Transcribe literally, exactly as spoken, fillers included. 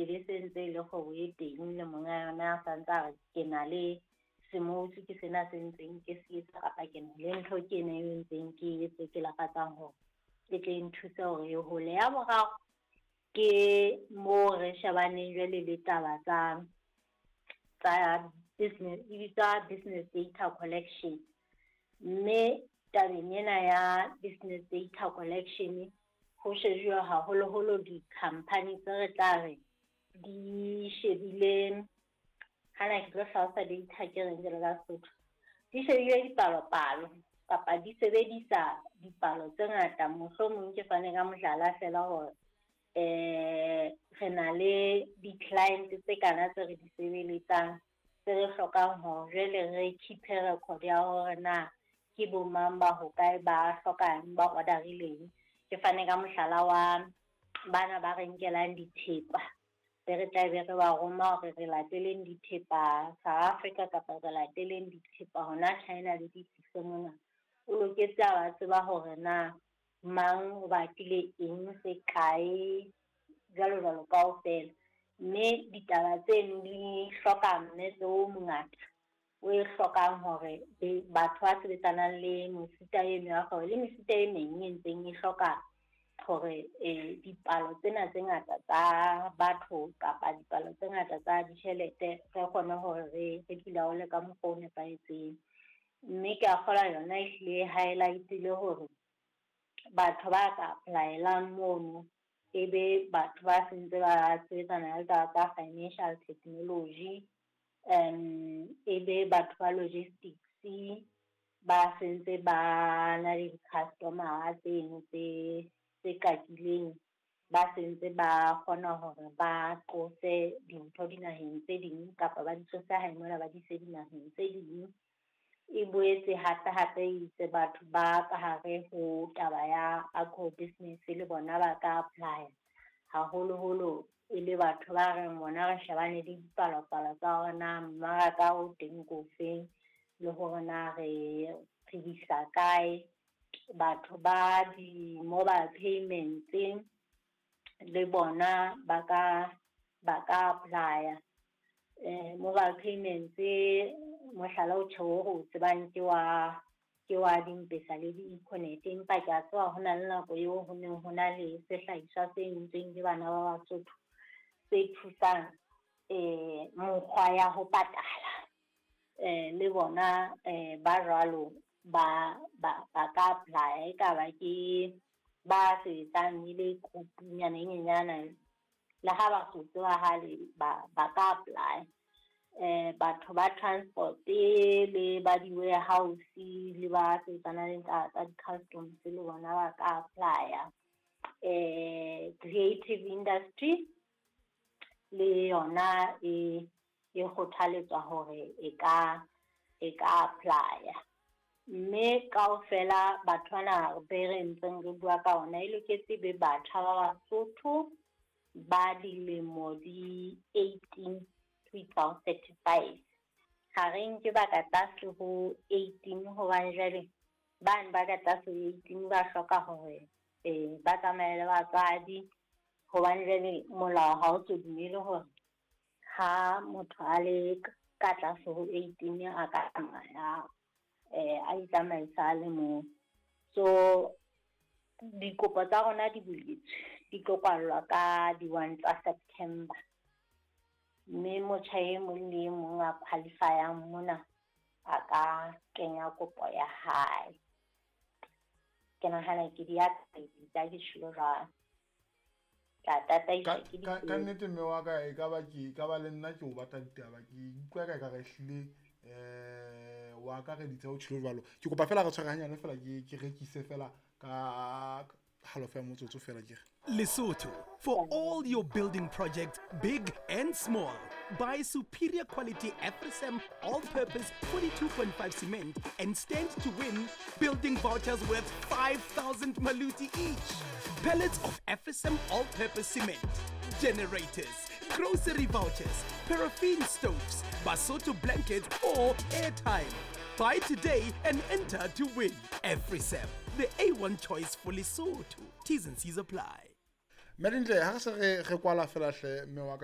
le se ntse e le kgwebo e teng le monga yona a santse a re ke na le semotsi ke sena se ntseng ke se etsa kapa ke na le ntho ke ena e ntseng ke etse ke lakatsang hore e tle e nthuse hore e hole. Ya boraro ke moo re shebaneng jwale le taba tsa tsa business, e bitswa business data collection. Mme tabeng ena ya business data collection ho shejuwa haholoholo di-company tse re tla re di shebile, hana ke tlo hlalosa data ke reng jwalo ka Sesotho, di shebile dipalopalo kapa di sebedisa dipalo tse ngata. Mohlomong ke fane ka mohlala feela hore eh re na le di-client tse kana tse re di sebeletsang tse re hlokang hore jwale re keep record ya hore na ke bo mang ba hokae ba hlokang ba order-ileng. Ke fane ka mohlala wa bana ba re nkelang dithepa be re tla be re ba roma hore re lateleng dithepa South Africa kapa re lateleng dithepa hona China le di tlise mona. O loketse a ba tseba hore na mang o batlile eng se kae jwalo jwalo kaofela. Mme ditaba tseno di hloka mmetse o mongata o e hlokang hore batho ba sebetsanang le mefuta eno ya kgwebo le mefuta e meng e ntseng e hloka hore eh dipalo tsena tse ngata tsa batho kapa dipalo tse ngata tsa ditjhelete re kgone hore re re di laole ka mokgwa o nepahetseng. Mme ke a kgolwa yona ehlile highlight-ile hore batho ba ka apply-elang mono e be batho ba sentse ba sebetsana le taba tsa financial technology, um e be batho ba logistics ba sentse ba na le di-customer tseno tse tse kakileng, ba sentse ba kgona hore ba qose dintho dinaheng tse ding kapa ba di tlose hae mona ba di ise dinaheng tse ding. E boetse hape hape itse batho ba ka hare ho taba ya agro business le bona ba ka apply, haholoholo e le batho ba reng bona re shebane le dipalopalo tsa hore na mmaraka o teng ko feng le hore na re re isa kae. Batho ba di-mobile payments le bona ba ka ba ka apply-a. Eh mobile payments mohlala o tjho o tsebang ke wa ke wa di-M-Pesa le di-Econet, empa ke a tseba ho na le nako eo ho neng ho na le sehlahiswa se entsweng ke bana ba Basotho se thusang eh mokgwa ya ho patala. Eh le bona eh ba jwalo ba ba ba ka apply, e ka ba ke ba sebetsang e le group-nyana e nyenyana le ha ba so tsebahale ba ba ka apply. Eh batho ba transport le ba di-warehouse le ba sebetsanang le tsa di-customs le bona ba ka apply-a. Eh creative industry le yona e e kgothaletswa hore e ka e ka apply-a. Mme kaofela batho bana be re ntseng re bua ka ona e loketse be batjha ba Basotho ba dilemo di eighteen to isa ho thirty-five. Ha re nke ba ka tlase ho eighteen hobane jwale bane ba ka tlase ho eighteen ba hloka hore eh ba tsamaye le batswadi, hobane jwale molao ha o so dumele hore ha motho a le ka tlase ho eighteen a ka tsamaya eh a itsamaisa a le mong. So dikopo tsa rona di buletswe, di tlo kwallwa ka di-one tsa September. Mme motjha e mong le e mong a qualify-ang mona a ka kenya kopo ya hae. Ke nahana ke di akareditse ke tjholo jwalo. Ka tataiswa ke Ka ka nnete mme wa ka e ka ba ke ka ba le nna ke o batla ditaba, ke utlwa ka ekare ehlile eh wa akareditse o tjholo jwalo. Ke kopa fela re tshware hanyane fela ke ke rekise fela ka halofo ya motsotso fela ke re. Lesotho, for all your building projects, big and small. Buy superior quality Afrisam all-purpose forty-two point five cement and stand to win building vouchers worth five thousand maluti each. Pallets of Afrisam all-purpose cement, generators, grocery vouchers, paraffin stoves, Basotho blankets or airtime. Buy today and enter to win. Afrisam, the A one choice for Lesotho. T's and C's apply. Mme Dintle, ha re se re re kwala fela hle mme wa ka,